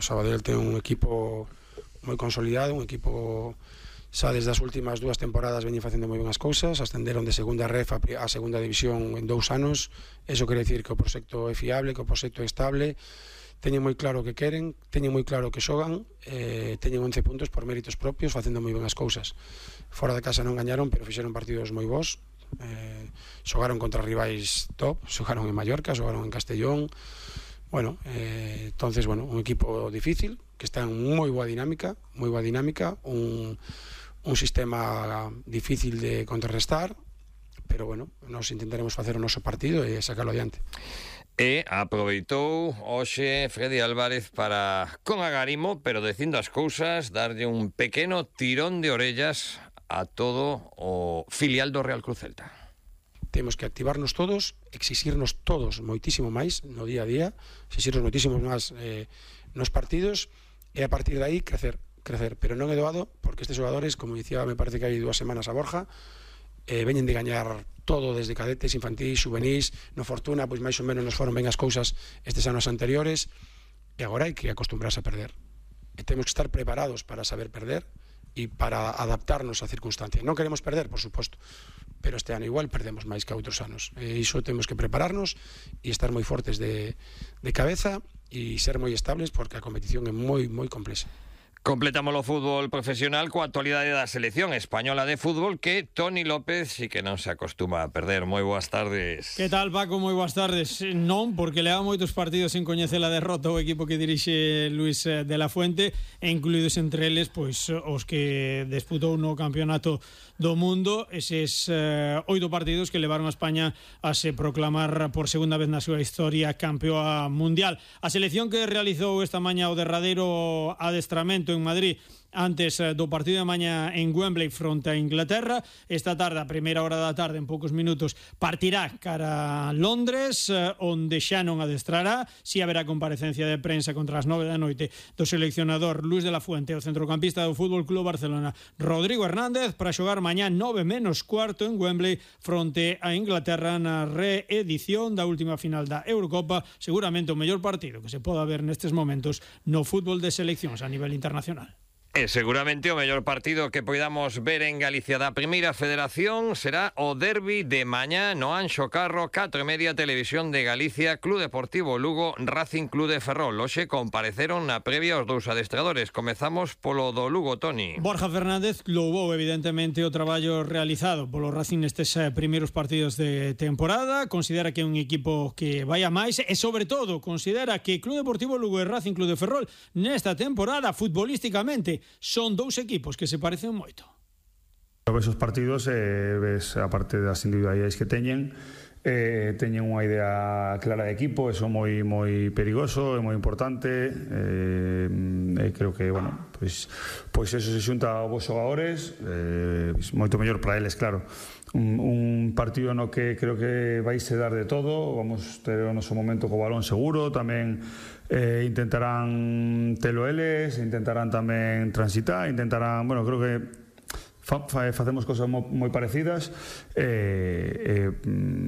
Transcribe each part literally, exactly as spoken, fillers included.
o Sabadell ten un equipo moi consolidado, un equipo xa desde as últimas dúas temporadas veñen facendo moi ben as cousas, ascenderon de segunda ref a, a segunda división en dous anos. Eso quere dicir que o proxecto é fiable, que o proxecto é estable, teñen moi claro o que queren, teñen moi claro o que xogan, eh, teñen once puntos por méritos propios, facendo moi ben as cousas. Fora de casa non gañaron, pero fixeron partidos moi bons, eh, xogaron contra rivais top, xogaron en Mallorca, xogaron en Castellón. Bueno, eh, entonces, bueno, un equipo difícil, que está en moi boa dinámica, moi boa dinámica, un, un sistema difícil de contrarrestar, pero, bueno, nos intentaremos facer o noso partido e sacarlo adiante. E aproveitou hoxe Freddy Álvarez para, con agarimo, pero dicindo as cousas, darlle un pequeno tirón de orellas a todo o filial do Real Cruz Celta. Temos que activarnos todos, exixirnos todos moitísimo máis no día a día, exixirnos moitísimo máis eh, nos partidos, e a partir de aí crecer, crecer, pero non é doado, porque estes xogadores, como dicía, me parece que hai dúas semanas a Borja, eh, veñen de gañar todo desde cadetes, infantis, juvenís, no Fortuna, pois máis ou menos nos foron ben as cousas estes anos anteriores, e agora hai que acostumbrarse a perder, e temos que estar preparados para saber perder e para adaptarnos á circunstancia. Non queremos perder, por suposto, pero este ano igual perdemos máis que outros anos, e iso temos que prepararnos e estar moi fortes de, de cabeza e ser moi estables, porque a competición é moi, moi complexa. Completamos o fútbol profesional coa actualidade da selección española de fútbol, que Toni López sí que non se acostuma a perder. Moi boas tardes. Que tal, Paco? Moi boas tardes. Non, porque leva moitos partidos sin coñecer a derrota o equipo que dirixe Luis de la Fuente, e incluídos entre eles pois os que disputou no Campeonato do Mundo, eses eh, oito partidos que levaron a España a se proclamar por segunda vez na súa historia campeoa mundial. A selección que realizou esta mañá o derradeiro adestramento en Madrid antes do partido de mañá en Wembley fronte a Inglaterra. Esta tarde, a primeira hora da tarde, en poucos minutos, partirá cara a Londres, onde xa non adestrará. Si haberá comparecencia de prensa contra as nove da noite do seleccionador Luis de la Fuente, o centrocampista do Fútbol Club Barcelona Rodrigo Hernández, para xogar mañá nove menos cuarto en Wembley fronte a Inglaterra na reedición da última final da Eurocopa, seguramente o mellor partido que se poda ver nestes momentos no fútbol de seleccións a nivel internacional. E seguramente o mellor partido que poidamos ver en Galicia da Primeira Federación será o derbi de mañá no Anxo Carro, catro e media, Televisión de Galicia, Club Deportivo Lugo, Racing Club de Ferrol. Hoxe compareceron na previa os dous adestradores. Comezamos polo do Lugo, Toni. Borja Fernández louvou evidentemente o traballo realizado polo Racing nestes primeiros partidos de temporada. Considera que é un equipo que vai a máis e, sobre todo, considera que Club Deportivo Lugo e Racing Club de Ferrol nesta temporada, futbolísticamente, son dous equipos que se parecen moito. Ves os partidos e ves, aparte das individualidades que teñen, eh, teñen unha idea clara de equipo, eso moi moi perigoso, é moi importante, eh, e creo que, bueno, pois, pois eso se xunta aos vos xogadores, eh, moito mellor para eles, claro. Un, un partido no que creo que vais a dar de todo, vamos ter o noso momento co balón seguro, tamén eh, intentarán telo eles, intentarán tamén transitar, intentarán, bueno, creo que fa, fa, facemos cosas mo, moi parecidas, e eh, eh,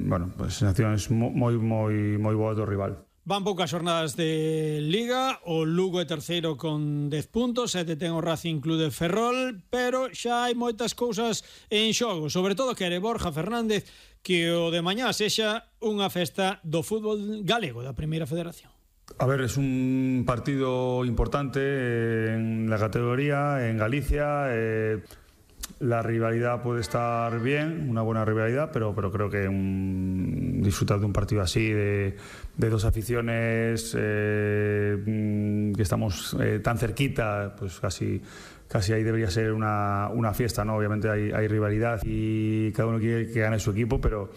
bueno, pues, sensacións moi moi moi boas do rival. Van poucas xornadas de Liga, o Lugo é terceiro con dez puntos, sete ten o Racing Club de Ferrol, pero xa hai moitas cousas en xogo, sobre todo quere Borja Fernández que o de mañá sexa unha festa do fútbol galego da Primeira Federación. A ver, es un partido importante en la categoría, en Galicia. Eh, la rivalidad puede estar bien, una buena rivalidad, pero, pero creo que un, disfrutar de un partido así, de, de dos aficiones eh, que estamos eh, tan cerquita, pues casi, casi ahí debería ser una, una fiesta, ¿no? Obviamente hay, hay rivalidad y cada uno quiere que gane su equipo, pero...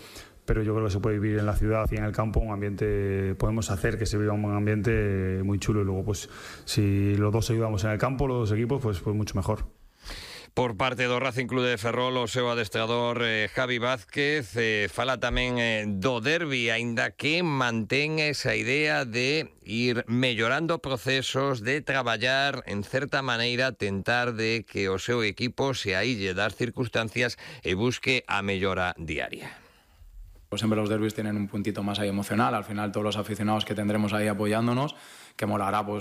pero yo creo que se puede vivir en la ciudad y en el campo un ambiente, podemos hacer que se viva un ambiente muy chulo, y luego pues si los dos ayudamos en el campo, los dos equipos, pues, pues mucho mejor. Por parte do Racing Club de Ferrol, o seu adestrador eh, Javi Vázquez eh, fala tamén eh, do derbi, aínda que mantén esa idea de ir mellorando procesos, de traballar en certa maneira, tentar de que o seu equipo se aille das circunstancias e busque a mellora diaria. Pues siempre los derbis tienen un puntito más ahí emocional, al final todos los aficionados que tendremos ahí apoyándonos, que molará pues